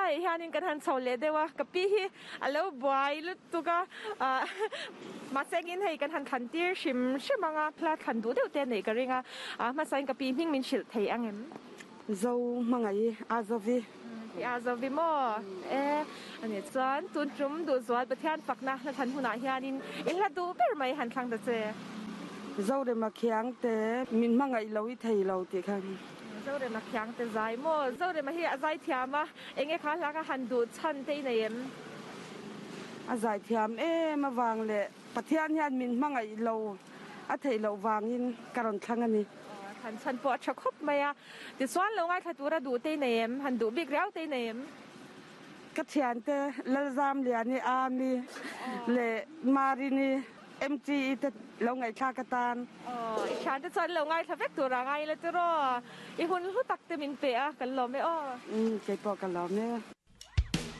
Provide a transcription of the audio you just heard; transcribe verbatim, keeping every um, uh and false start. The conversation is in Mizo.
Helai hianin kan han chho leh deuh a, ka pi hi a lo buai lutuk a, ah mahsengin hei kan han thlan tir hrim hrim ang a, hla thlan duh deuh te a neih ka ring a, ah hmasain ka pi hming min hrilh thei ang em? Zo hmangaih a zovi. I a zovi maw? E ani chuan tun tum duhzual Pathian fakna hla thlan hunah hianin i hla duh ber mai han thlang ta che. Zorema khiang te min hmangaih lo i thei lo tih kha. Zorema khiang te zai maw? Zorema hi a zai thiam a, enge kha hla kha han duh chhan te i nei em? A zai thiam em avang leh Pathian hian min hmangaih lo a theih loh vangin ka rawn thlang a ni. Han chhan pawh a tha khawp mai a, tichuan lo ngaithla tura duh te i nei em? Han duh bik riau te i nei em? Ka thiante Lalzamliani, Ami leh Marini, M T E te lo ngaihthlak atan. Aw, i thiante chuan lo ngaithla vek tur a ngai la tiraw? I hun hlu tak te min pe a, kan lawm e aw. Umm, keipawh ka lawm e.